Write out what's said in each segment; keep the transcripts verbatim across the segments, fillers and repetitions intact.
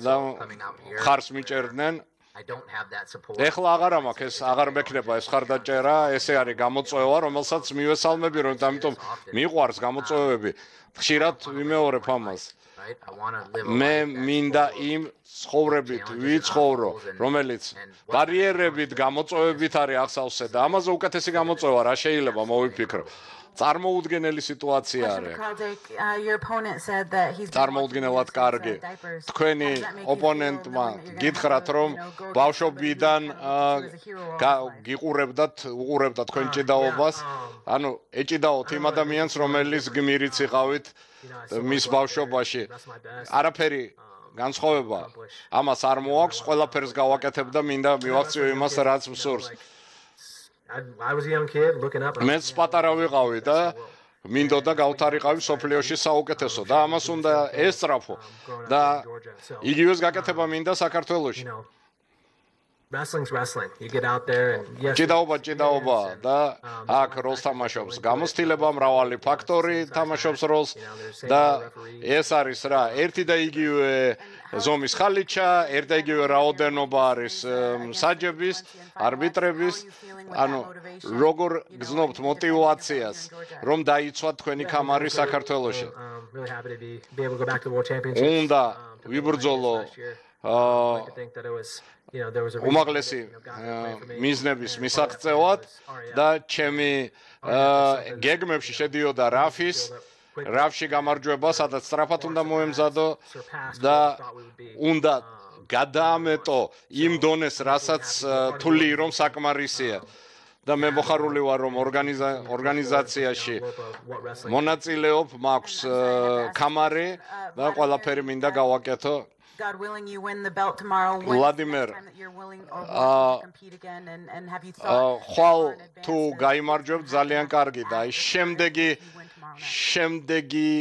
და ხარს მიჭერდნენ. ეხლა აღარ მაქვს ეს აღარ მექნება ეს ხარდაჭერა, ესე არის გამოწვევა, რომელსაც მივესალმები, რომ ამიტომ მიყვარს გამოწვევები. ხშირად ვიმეორებ ამას. მე მინდა იმ ცხოვრებით ვიცხოვრო, რომელიც ბარიერებით, გამოწვევებით არის ახსავსე და ამაზე უკეთესი გამოწვევა რა შეიძლება მოვიფიქრო. წარმოუდგენელი სიტუაცია არის. წარმოუდგენელად კარგი. თქვენი ოპონენტმა გითხრათ, რომ ბავშვობიდან გიყურებდათ, უყურებდათ თქვენ ჭიდაობას, ანუ ეჭიდაოთ იმ ადამიანს, რომელიც გმირიც იყავით მის ბავშვობაში. არაფერი განსხვავება ამას არ მოაქვს, ყველაფერს გავაკეთებ და მინდა მივაქციო იმას, რაც მსურს. მეც პატარა ვიყავი და მინდოდა გავთარიყავი სოფლიოში საუკეთესო და ამას უნდა ესწრაფო და იგივეს გაკეთება მინდა საქართველოში. ჭიდაობა ჭიდაობა და აქ როლს თამაშობს გამოცდილება, მრავალი ფაქტორი თამაშობს როლს და ეს არის რა, ერთი და იგივე ზომის ხალიჩა, ერთ და იგივე რაოდენობა არის მსაჯების, არბიტრების, ანუ როგორ გზნობთ мотивაციას, რომ დაიცვათ თქვენი კამარი საქართველოში. უნდა ვიბრძოლო უმაღლესი მიზნების მისაღწევად და ჩემი გეგმებში შედიოდა რაფის რაფში გამარჯვება, სადაც სწრაფად უნდა მოემზადო და უნდა გადაამეტო იმ დონეს, რასაც თვლი რომ საკმარისია. და მე მოხარული ვარ, რომ ორგანიზაციაში მონაწილეობ, მაქვს კამარი და ყველაფერი მინდა გავაკეთო. God willing, you win the belt tomorrow. Vladimir, ხვალ თუ გაიმარჯვებ ძალიან კარგი და შემდეგი შემდეგი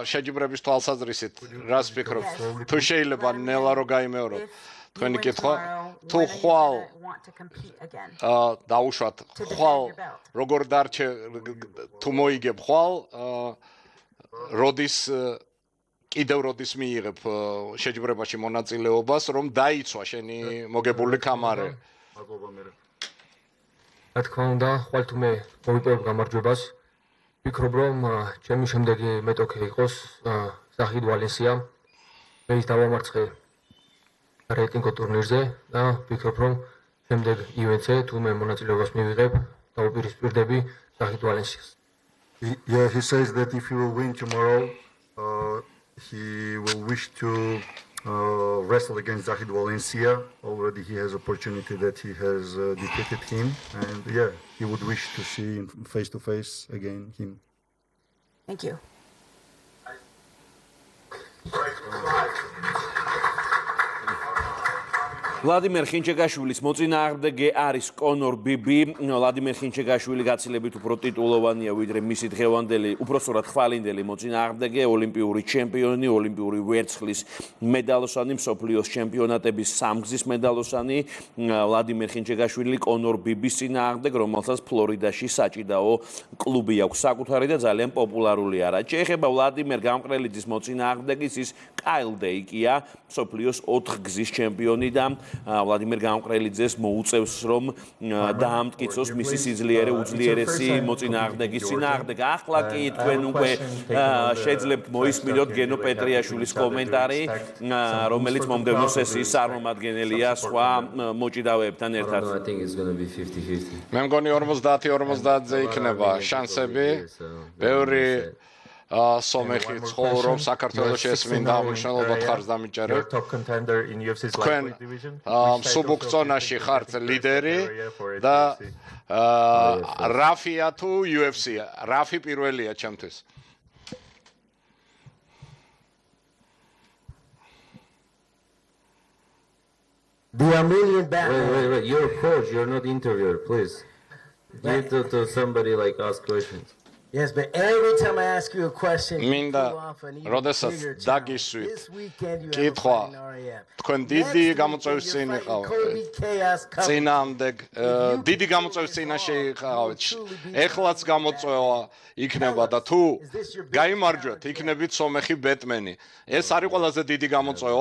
შეჯიბრების თვალსაზრისით რას ფიქრობ? თუ შეიძლება ნელა რო გაიმეოროთ. თქვენი კითხვა, თუ ხვალ დაუშვათ, ხვალ როგორ დარჩე თუ მოიგებ ხვალ, როდის კიდევ როდის მიიღებ შეჯიბრებაში მონაწილეობას, რომ დაიცვა შენი მოგებული კამარი. რა თქმა უნდა, ხვალ თუ მე მოვიპოვებ გამარჯვებას, ვფიქრობ, რომ ჩემი შემდეგი მეტოქე იყოს ზაჰიდ ვალენსია. მე ის დავამარცხე რეიტინგ ტურნირზე და ვფიქრობ, რომ შემდეგ ივენთზე თუ მე მონაწილეობას მივიღებ, დავუპირისპირდები ზაჰიდ ვალენსიას. Yeah, he says that if he will win tomorrow, uh, he will wish to uh, wrestle against Zahid Valencia. Already he has opportunity that he has uh, defeated him, and yeah, he would wish to see face to face again him. Thank you. ვლადიმერ ხინჩეგაშვილის მოწინააღმდეგე არის კონორ ბიბი. ვლადიმერ ხინჩეგაშვილი გაცილებით უფრო ტიტულოვანია ვიდრე მისი დღევანდელი, უпроსტად ხვალინდელი მოწინააღმდეგე, ოლიმპიური ჩემპიონი, ოლიმპიური ვერცხლის მედალოსანი, მსოფლიოს ჩემპიონატების სამგზის მედალოსანი. ვლადიმერ ხინჩეგაშვილი კონორ ბიბის წინააღმდეგ, რომელსაც ფლორიდაში საჭიდაო კლუბი აქვს საკუთარი და ძალიან პოპულარული არა. შეეხება ვლადიმერ გამყრელიძის მოწინააღმდეგის, ის კაილ დეიკია, მსოფლიოს ოთხგზის ჩემპიონი და ვლადიმერ გამყრელიძეს მოუწევს, რომ დაამტკიცოს მისი სიძლიერე უძლიერესი მოწინააღმდეგის წინააღმდეგ. ახლა კი თქვენ უკვე შეძლებთ მოისმინოთ გენო პეტრიაშვილის კომენტარი, რომელიც მომდევნო სესიის წარმომადგენელია სხვა მოჭიდავეებთან ერთად. მე მგონი ორმოცდაათი ორმოცდაათზე იქნება შანსები. ბევრი სომეხი ცხოვრობს საქართველოში, ეს მინდა ამოშნელობად ხარს დამიჭერებ. თქვენ სუბუქცონაში ხართ ლიდერი და რაფია თუ იუ ეფ სი, რაფი პირველია ჩემთვის. There are million back. Wait, wait, wait. You're a coach. You're not interviewer. Please. Give to, to somebody like ask questions. Yes, but every time I ask you a question, მინდა როდესაც დაგისვით კითხვა, თქვენ დიდი გამოწვევის წინ იყავით, წინამდე დიდი გამოწვევის წინაშე იყავით, ეხლაც გამოწვევა იქნება და თუ გაიმარჯვეთ, იქნებით სომეხი ბეტმენი. ეს არის ყველაზე დიდი გამოწვევა.